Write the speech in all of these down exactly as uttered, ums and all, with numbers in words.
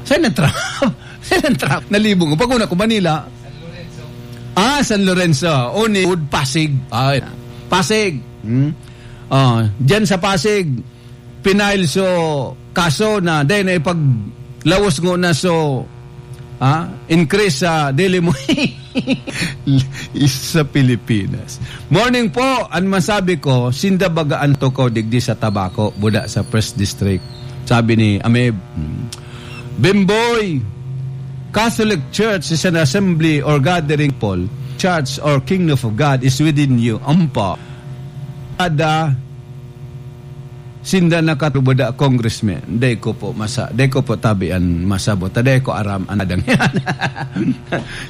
Saan ang trap? Saan ang trap? Nalibong. Pag una ko, Manila. Ah, San Lorenzo. Oni, Wood, Pasig. Ah, Pasig. Hmm? Ah, dyan sa Pasig, pinail so kaso na, dahil na ipaglawos ngo na so, ah, increase sa daily mo. Sa Pilipinas. Morning po, ang masabi ko, sinda baga ang tukaw digdi sa Tabaco, buda sa First District. Sabi ni Ameb, hmm. Bimboy, Catholic Church is an assembly or gathering people. Church or kingdom of God is within you. Ampa. Ada, sinda nakatubod a congressman. Dai ko po masa-, dai ko po tabi an masabot. Dai ko aram an adang yan.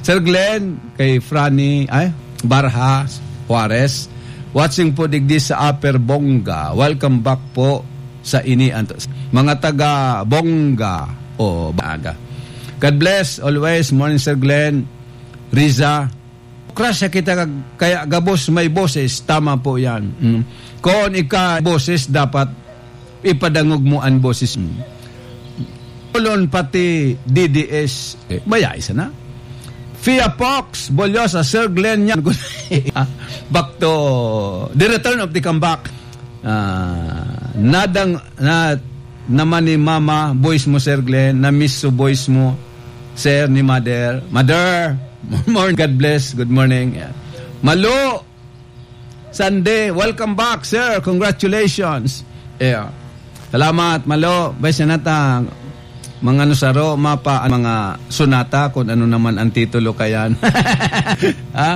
Sir Glenn, kay Franny, ay, Barha, Juarez. Watching po digdi sa Upper Bonga. Welcome back po sa ini, Antos. Mga taga Bonga o Baga. God bless always. Morning, Sir Glenn. Riza. Krasya kita kag-, kaya gabos may boses. Tama po yan. Mm. Kung ika boses, dapat ipadangog mo an boses. Mm. Olon pati D D S. Eh, maya isa na. Fia Fox, Bolyosa, Sir Glenn, yan. Back to the return of the comeback. Ah, nadang-, na, naman ni Mama, voice mo, Sir Glenn. Na-miss so voice mo, Sir, ni Mother. Mother, morning, God bless, good morning. Yeah. Malo, Sunday, welcome back, sir. Congratulations. Yeah. Salamat, Malo. Bay, sinata, mga nusaro, mapa, mga sunata, kung ano naman ang titulo kayan. Ha?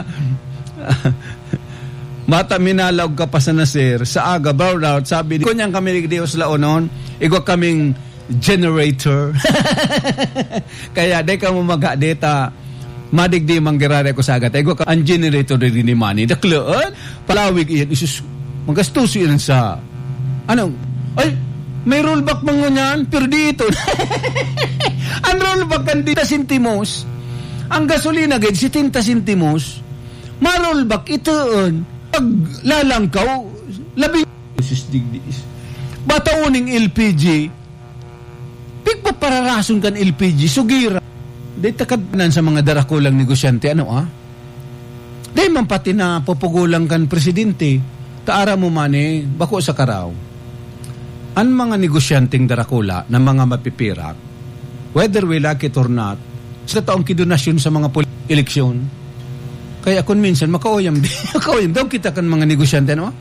Mata minalaog ka pa sana, sir. Sa aga, brown out, sabi, "Kunyang kami ni Dios laonon, igwa kaming generator." Kaya, di ka mo magha-, deta, madigdi manggirari ako sa aga. Igwa ka, ang generator di ni Manny. Daklaan, palawig iyan, isus, magastuso iyan sa, ano, ay, may rollback man ngunyan, pero di ito. Ang rollback kan di sentimos. Ang gasolina, gid, setenta sentimos. Marol bak itoon, paglalangkaw, labi, sus, digdiis. Bataoning L P G, pigpapararason kan L P G, sugira. Di takad nan sa mga darakulang negosyante, ano, ah? Di man pati na pupugulang kan presidente, taara mo man eh, bako sa karaw. An mga negosyanteng darakula na mga mapipirak, whether we like it or not, sa taong kidonasyon sa mga pol-, eleksyon. Kaya kun minsan, makauyam di, makauyam daw kita kan mga negosyante, no?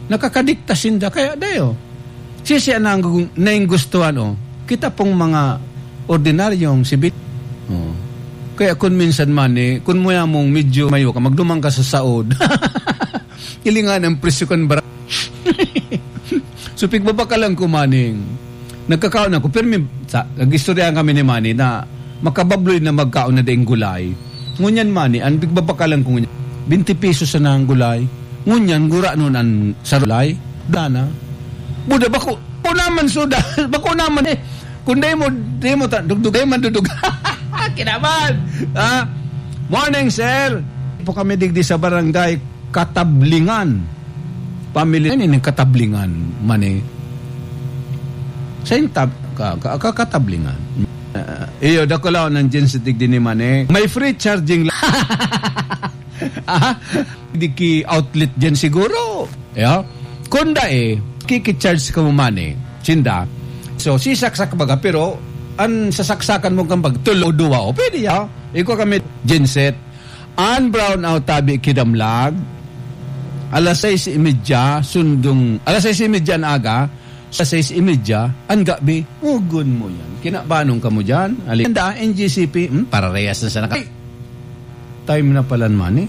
Nakakadikta sinda, kaya dayo. Sisi ang nanggu-, nainggustuhan, oh. Kita pong mga ordinaryong sibit. Oh. Kaya kun minsan man, eh, kun mo mong medyo mayo ka, magduman ka sa saod. Hilingan ang presyo kan bara-, So, pigbabakalan ko, maning, nagkakaon ako, pero may, sa, nag-istoryahan kami ni Manny na makababloy na magkaon na daing gulay. Ngunyan, Manny, ang pigbabakalan ko ngunyan, twenty pesos na ang gulay. Ngunyan, gura nun ang sarulay. Dana. Buda, bako, bako naman, suda, bako naman eh. Kung dai mo, dai mo ta-, dugdug, dai man dudug. Kinaban! Ha? Morning, sir. Po kami digdi sa barangay Katablingan. Pamili-, ano yung Katablingan, Mani? Sa yung tab-, ka-, ka-, ka-, Katablingan. Ah, iyo, dakulaw ng Gensetec din ni Mani. May free charging la-, ah, di ki outlet dyan siguro. Yeah? Kunda eh, kiki-charge ka mo, Mani. Sinda. So, sisaksak baga, pero ang sasaksakan mo kang pag tulo, duwa, o pwede, ya. Ikaw kami, Genset. An brownout tabi kidamlag, alas sais y media, sundong, alas sais y media an aga, sa sais y media, an gabi, ugon mo yan. Kinabanong ka mo dyan. Ali-, N G C P, hmm, pararehas na sana ka. Time na pala, Mani.